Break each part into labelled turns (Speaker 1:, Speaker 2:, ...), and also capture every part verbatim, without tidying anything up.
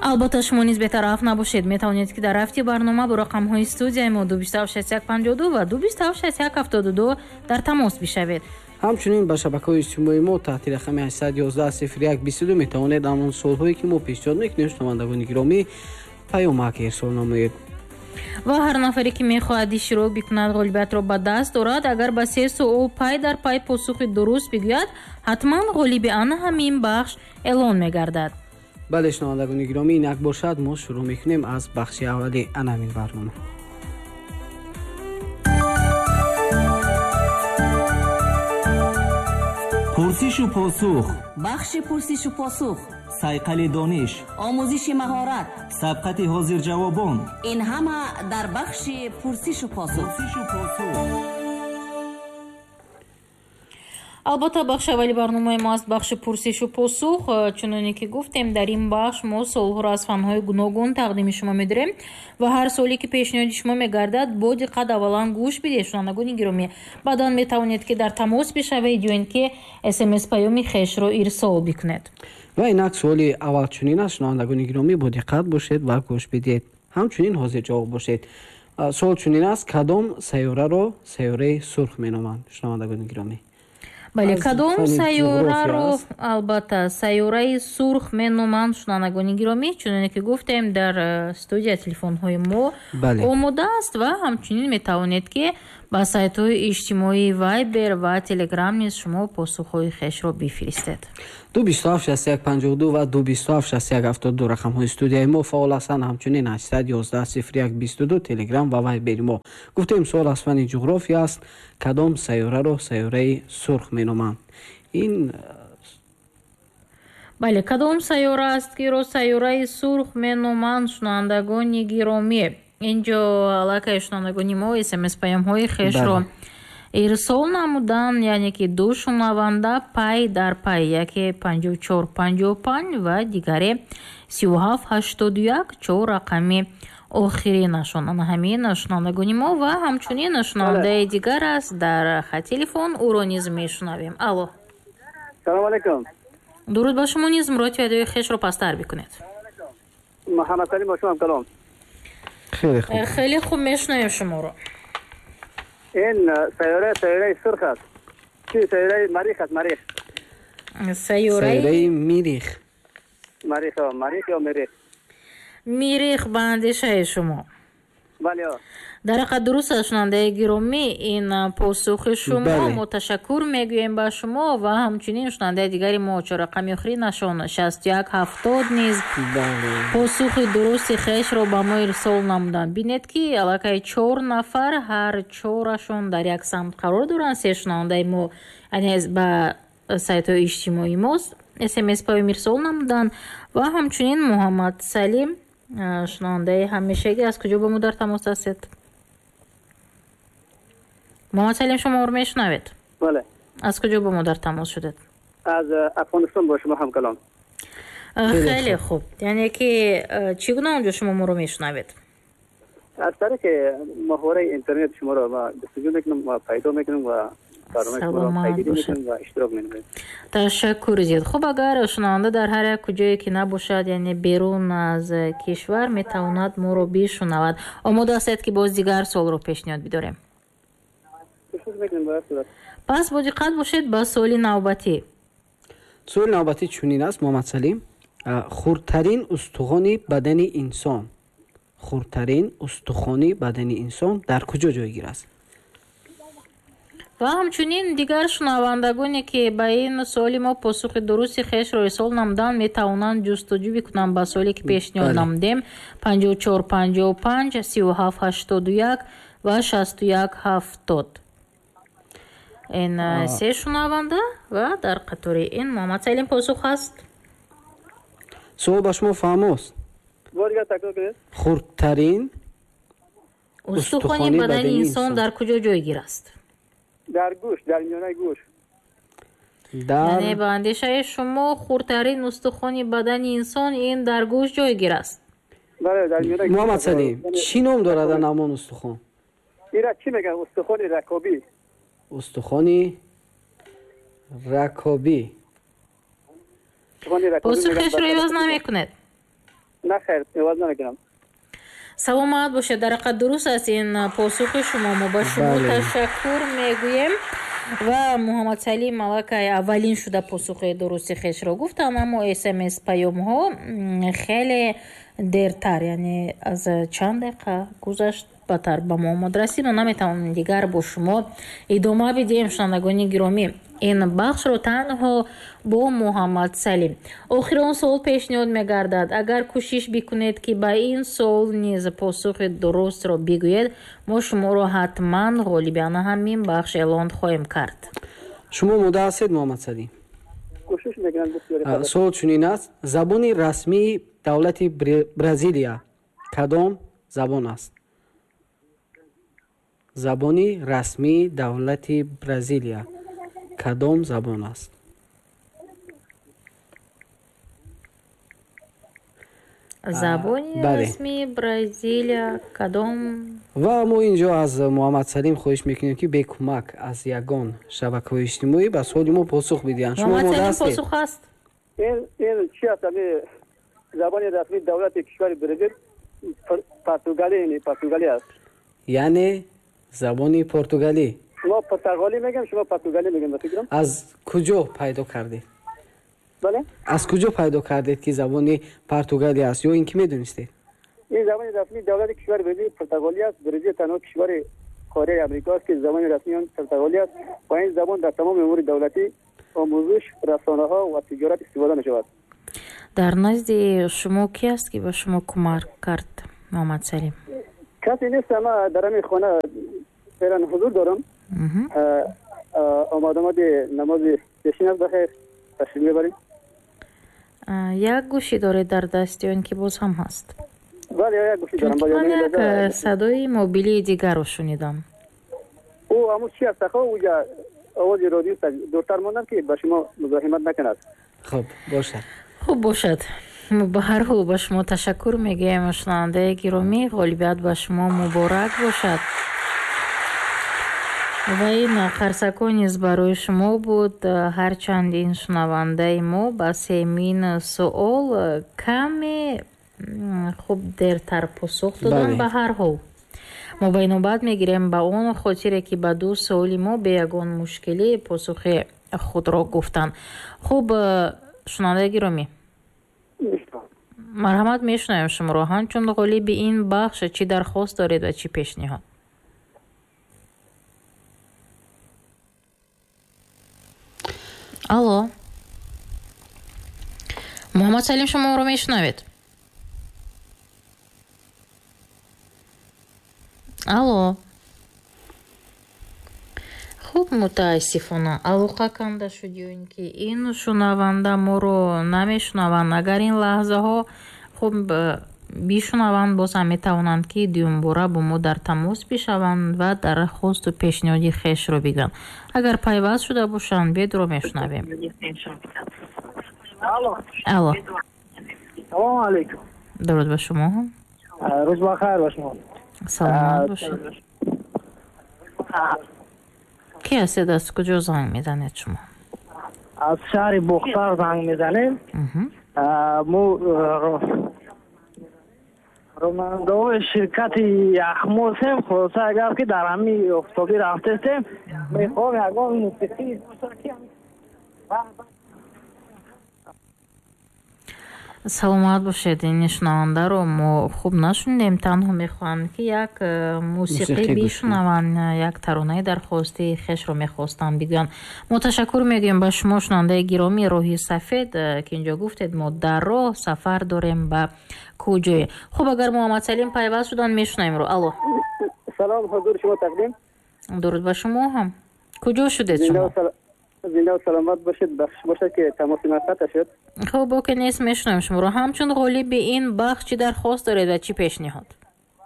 Speaker 1: Албатта, шумо низ бетараф набошед. Метавонед, ки дар рафти барнома бо рақамҳои студияи мо ду бисту ҳафт шасту як панҷоҳу ду ва ду бисту ҳафт шасту як ҳафтоду ду дар тамос бишавед.
Speaker 2: Ҳамчунин ба шабакаҳои иҷтимоии мо таҳти рақами ҳаштсаду ёздаҳ сифр як бисту ду метавонед ҳамон суолҳое, ки мо пешниҳод мекунем, шунавандагони гиромӣ, паёмак ирсол намоед.
Speaker 1: Ва ҳар нафаре, ки мехоҳад иштирок бикунад, ғолибиятро ба даст дорад, агар ба се суол пай дар пай посухи дуруст бигӯяд, ҳатман ғолиби ана ҳамин бахш эълон мегардад.
Speaker 2: Бале, шунавандагони гиромӣ, инак бошад, мо шурӯъ мекунем аз бахши аввали ана ҳамин барнома.
Speaker 3: Пурсишу посух.
Speaker 4: Бахши пурсишу посух.
Speaker 3: Сайқали дониш.
Speaker 4: Омӯзиши маҳорат.
Speaker 3: Сабқати ҳозирҷавобон.
Speaker 4: Ин ҳама дар бахши пурсишу посух.
Speaker 3: Пурсишу посух.
Speaker 1: Албатта, бахши аввали барномаи мо аст бахши пурсишу посух. Чуноне ки гуфтем, дар ин бахш мо суолҳоро аз фанҳои гуногун тақдими шумо медорем ва ҳар суоле, ки пешниҳоди шумо мегардад, бо диққат аввалан гӯш бидиҳед, шунавандагони гиромӣ. Баъдан метавонед, ки дар тамос бишавед ё ин ки смс паёми хешро ирсол бикунед.
Speaker 2: Ва инак суоли аввал чунин аст, шунавандагони гиромӣ, бо диққат бошед ва гӯш бидиҳед. Ҳамчунин ҳозирҷавоб бошед. Суол чунин аст: кадом сайёраро сайёраи сурх меноманд, шунавандагони гиромӣ?
Speaker 1: Бале, кадом сайёраро, албатта, сайёраи сурх меноманд, шунавандагони гиромӣ? Чуноне ки гуфтем, дар студия телефонҳои мо омода аст ва ҳамчунин метавонед, ки ба сайтҳои иҷтимоии Вайбер ва Телеграм низ шумо посухҳои хешро бифиристед.
Speaker 2: Ду бисту ҳафт шасту як панҷоҳу ду ва ду бисту ҳафт шасту як ҳафтоду ду рақамҳои студияи мо фаъол ҳастанд. Ҳамчунин ҳаштсаду ёздаҳ сифр як бисту ду Телеграм ва Вайбери мо. Гуфтем, суол аз фанни ҷуғрофия аст. Кадом сайёраро сайёраи сурх меноманд? Ин
Speaker 1: Бале, кадом сайёра аст, ки ро сайёраи сурх меноманд, шунавандагони гиромӣ? Инҷо аллакай шунавандагони мо смс паёмҳои хешро ирсол намуданд, яъне ки ду шунаванда пай дар пай, яке панҷоҳу чор панҷоҳу панҷ ва дигаре сию ҳафт ҳаштоду як, чор рақами охиринашон. Ана ҳамин шунавандагони мо ва ҳамчунин шунавандаи дигар аст дар хат телефон, ӯро низ мешунавем. Алло.
Speaker 5: Салом алайкум.
Speaker 1: Дуруд ба шумо низ, муроти адои хешро пасттар бикунед.
Speaker 5: Муҳаммад Салим бо шумо ҳамкалом.
Speaker 2: Хеле хуб.
Speaker 1: Хеле хуб мешунавем шуморо.
Speaker 5: Ин сайёра сайёраи сурх аст. Чи сайёраи Марих аст, Марих.
Speaker 1: Сайёраи
Speaker 2: Мирих.
Speaker 5: Марих, Марих ё Мирих?
Speaker 1: Мирих ба андешаи шумо.
Speaker 5: Бале.
Speaker 1: Дар ҳақиқат дуруст аст, шунавандаи гиромӣ, ин посухи шумо. Мо ташаккур мегӯем ба шумо ва ҳамчунин шунавандаи дигари мо чоррақами охиринашон шасту як ҳафтод низ посухи дурусти хешро ба мо ирсол намуданд. Бинед, ки аллакай чор нафар ҳар чорашон дар як самт қарор доранд. Се шунавандаи мо, яъне ба сайтҳои иҷтимоии мо смс паём ирсол намуданд ва ҳамчунин Муҳаммад Салим, шунавандаи ҳамешагӣ, аз куҷо ба мо дар тамос ҳастед? Муҳаммад Салим, шумо моро мешунавед?
Speaker 5: Бале.
Speaker 1: Аз куҷо ба мо дар тамос шудед?
Speaker 5: Аз Афғонистон бо шумо ҳамкалом.
Speaker 1: Хеле хуб. Яъне ки чӣ гуна онҷо шумо моро мешунавед?
Speaker 5: Аз тариқи моҳвораи интернет шуморо ма ҷустуҷӯ мекунам ва пайдо мекунам ва
Speaker 1: саломат бошед. Ташаккур зиёд. Хуб, агар шунаванда дар ҳар як куҷое ки набошад, яъне берун аз кишвар, метавонад моро бишунавад. Омода ҳастед, ки боз дигар суолро пешниҳод бидорем? Пас бо диққат бошед ба суоли навбатӣ.
Speaker 2: Суоли навбатӣ чунин аст, Муҳаммад Салим. Хурдтарин устухони бадани инсон, хурдтарин устухони бадани инсон дар куҷо ҷойгир аст?
Speaker 1: Ва ҳамчунин дигар шунавандагоне, ки ба ин суоли мо посухи дурусти хешро ирсол намуданд, метавонанд ҷустуҷӯ бикунанд ба суоле, ки пешниҳод намудем: панҷоҳу чор панҷоҳу панҷ, сию ҳафт ҳаштоду як ва шасту як ҳафтод. Ин се шунаванда ва дар қатори ин Муҳаммад Салим посух аст.
Speaker 2: Суол ба шумо фаҳмост? Хурдтарин
Speaker 1: устухони бадани инсон дар куҷо ҷойгир аст?
Speaker 5: Дар гӯш, дар миёнаи гӯш.
Speaker 1: Яъне ба андешаи шумо хурдтарин устухони бадани инсон ин дар гӯш ҷойгир аст?
Speaker 5: Бале, дар миёнаи гӯш.
Speaker 2: Муҳаммад Салим, чӣ ном дорад ҳамон устухон?
Speaker 5: Ира чӣ мегӯянд? Устухони ракобӣ.
Speaker 2: Устухони ракобӣ.
Speaker 1: Посухашро иваз намекунед?
Speaker 5: Не, хайр, иваз намекунам.
Speaker 1: Саломат бошед. Дар ҳақиқат дуруст аст ин посухи шумо. Мо ба шумо ташаккур мегӯем. Ва Муҳаммадсалим аллакай аввалин шуда посухи дурусти хешро гуфтанд, аммо смс паёмҳо хеле дертар, яъне аз чанд дақиқа гузашт батар ба мо омад расид. Мо наметавонем дигар бо шумо идома бидиҳем, шунавандагони гиромӣ, ин бахшро танҳо бо Муҳаммадсалим. Охирон суол пешниҳод мегардад. Агар кӯшиш бикунед, ки ба ин суол низ посухи дурустро бигӯед, мо шуморо ҳатман ғолибяна ҳамин бахш эълон хоҳем кард.
Speaker 2: Шумо омода ҳастед, Муҳаммадсалим?
Speaker 5: Кӯшиш мекунам.
Speaker 2: Суол чунин аст: забони расмии давлати Бразилия кадом забон аст? Забони расмии давлати Бразилия кадом забон аст?
Speaker 1: Забони расмии Бразилия кадом?
Speaker 2: Ва мо инҷо аз Муҳаммадсалим хоҳиш мекунем, ки бе кӯмак аз ягон шабакаҳои иҷтимоӣ ба суоли мо посух бидиҳанд. Шумо омода ҳастед?
Speaker 1: Посух аст.
Speaker 5: Ин чи аст? Забони расмии давлати кишвари Бразил португалӣ, португалӣ аст.
Speaker 2: Яъне забони португалӣ.
Speaker 5: Мо португалӣ мегӯем, шумо португалӣ мегӯем, ба фикрам.
Speaker 2: Аз куҷо пайдо кардед?
Speaker 5: Бале?
Speaker 2: Аз куҷо пайдо кардед, ки забони португалӣ аст, ё ин ки медонистед?
Speaker 5: Ин забони расмии давлати кишвари Бразил португалӣ аст. Бразил танҳо кишвари қораи Амрико аст, ки забони расмии он португалӣ аст ва ин забон дар тамоми умури давлатӣ, омӯзиш, расонаҳо ва тиҷорат истифода мешавад.
Speaker 1: Дар назди шумо ки аст, ки ба шумо кӯмак кард, Муҳаммадсалим?
Speaker 5: Касе нест. Ма дар ҳамин хона феълан ҳузур дорам. Омад омади намози пешин аст, бахайр ташриф мебарем.
Speaker 1: Як гӯшӣ доред дар даст ё ин ки боз ҳам ҳаст?
Speaker 5: Бале, як гӯшӣ дорам.
Speaker 1: Чунки ман як садои мобилии дигарро шунидам.
Speaker 5: Ӯ ҳамун чи аст? Ахо, уҷа овози радио дуртар мондам, ки ба шумо музоҳимат накунад.
Speaker 2: Хуб бошад.
Speaker 1: Хуб бошад. Ба ҳар ҳол ба шумо ташаккур мегӯем, шунавандаи гиромӣ. Ғолибият ба шумо муборак бошад. Ва ин қарсакҳо низ барои шумо буд. Ҳарчанд ин шунавандаи мо ба семин суол каме хуб дертар посух доданд. Ба ҳар ҳол мо ба инобат мегирем ба он хотире, ки ба ду суоли мо бе ягон мушкилӣ посухи худро гуфтанд. Хуб, шунавандаи гиромӣ, марҳамат, мешунавем шуморо. Ҳамчун ғолиби ин бахш чӣ дархост доред ва чӣ пешниҳод? Алло, Муҳаммадсалим, шумо моро мешунавед? Алло. Хуб, мутаассифона алоқа канда шуд, ё ин ки ин шунаванда моро намешунаванд. Агар ин лаҳзаҳо хуб бишунаванд, боз ҳам метавонанд, ки дуюмбора бо мо дар тамос бишаванд ва дархосту пешниҳоди хешро бигӯянд. Агар пайваст шуда бошанд, бедро мешунавем. Алло.
Speaker 6: Салому алайкум.
Speaker 1: Дуруд ба шумо.
Speaker 6: Рӯз бахайр ба шумо.
Speaker 1: Саломат бошед. Ки ҳастед, аз куҷо занг мезанед шумо?
Speaker 6: Аз шаҳри Бохтар занг мезанем. Мо ронандаҳои ширкати Яхмосем. Хулоса, агар ки дар ҳамин офтобӣ рафтестем, мехоҳем ягон мусиқӣ.
Speaker 1: Саломат бошед. Ин шунавандаро мо хуб нашунидем. Танҳо мехоҳанд, ки як мусиқӣ бишунаванд, як таронаи дархости хешро мехостанд бигӯянд. Мо ташаккур мегӯем ба шумо, шунавандаи гиромӣ. Роҳи сафед, ки инҷо гуфтед, мо дар роҳ сафар дорем ба куҷое. Хуб, агар Муҳаммадсалим пайваст шуданд, мешунавем-ро. Алло.
Speaker 5: Салом, ҳузури шумо тақдим.
Speaker 1: Дуруд ба шумо ҳам. Куҷо шудед шумо?
Speaker 5: Зинда саломат бошед. Бахш бошад, ки тамоси ман қатъ шуд.
Speaker 1: Хуб, боке нест, мешунавем шуморо. Ҳамчун ғолиби ин бахш чӣ дархост доред ва чӣ пешниҳод?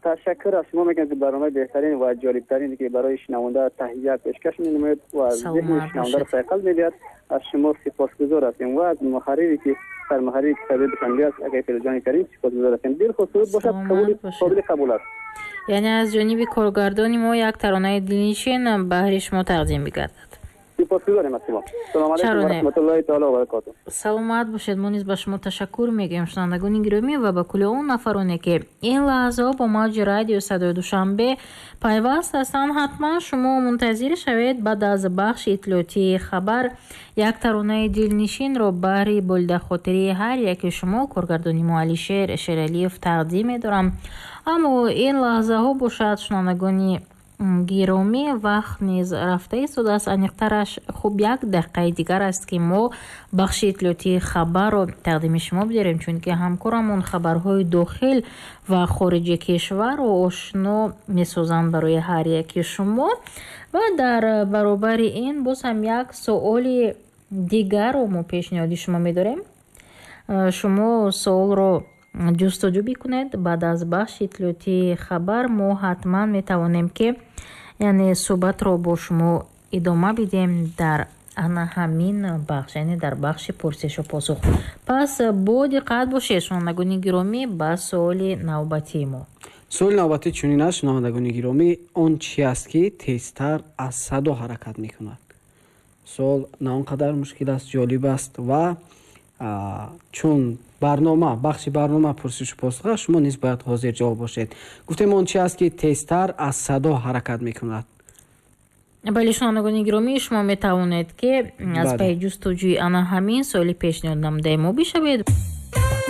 Speaker 5: Ташаккур аз шумо мекунам, ки барномаи беҳтарин ва ҷолибтарин, ки барои шунаванда таҳия пешкаш менамояд ва зеҳни шунавандаро сайқал медиҳад. Аз шумо сипосгузор ҳастем ва аз муҳаррире, ки сармуҳаррири китоби Душанбе аст, акаи Фирӯзҷони Карим, сипосгузор ҳастем. Дилхоҳ суруд бошад, қобили қабул аст.
Speaker 1: Яъне аз ҷониби коргардони мо як таронаи дилнишин баҳри шумо тақдим бигардад.
Speaker 5: Сипосгузорем аз шумо. Салому алайкум ва раҳматуллоҳи таоло ва баракотуҳ.
Speaker 1: Саломат бошед. Мо низ ба шумо ташаккур мегӯем, шунавандагони гиромӣ, ва ба кулли он нафароне, ки ин лаҳзаҳо бо мавҷи радио Садои Душанбе пайваст ҳастанд. Ҳатман шумо мунтазир шавед, баъд аз бахши иттилоотии хабар як таронаи дилнишинро баҳри болидахотирии ҳар яке шумо коргардони мо Алишер Шералиев тақдим медорам. Аммо ин лаҳзаҳо бошад, шунавандагони гиромӣ, вақт низ рафта истодааст. Аниқтараш, хуб, як дақиқаи дигар аст, ки мо бахши иттилоотии хабарро тақдими шумо бидорем, чунки ҳамкорамон хабарҳои дохил ва хориҷи кишварро ошно месозанд барои ҳар яки шумо. Ва дар баробари ин боз ҳам як суоли дигарро мо пешниҳоди шумо медорем. Шумо суолро ҷустуҷӯ бикунед. Баъд аз бахши иттилоотии хабар мо ҳатман метавонем, ки яъне суҳбатро бо шумо идома бидиҳем дар ана ҳамин бахш, яъне дар бахши пурсишу посух. Пас бо диққат бошед, шунавандагони гиромӣ, ба суоли навбатии мо.
Speaker 2: Суоли навбатӣ чунин аст, шунавандагони гиромӣ: он чи аст, ки тезтар аз садо ҳаракат мекунад? Суол на он қадар мушкил аст, ҷолиб аст, ва чун барнома, бахши барнома пурсишу посух аст, шумо низ бояд ҳозир ҷавоб бошед. Гуфтем, он чи аст, ки тезтар аз садо ҳаракат мекунад?
Speaker 1: Бале, шунавандагони гиромӣ, шумо метавонед, ки аз пайи ҷустуҷӯи ана ҳамин суоли пешниҳод намудаи мо бишавед.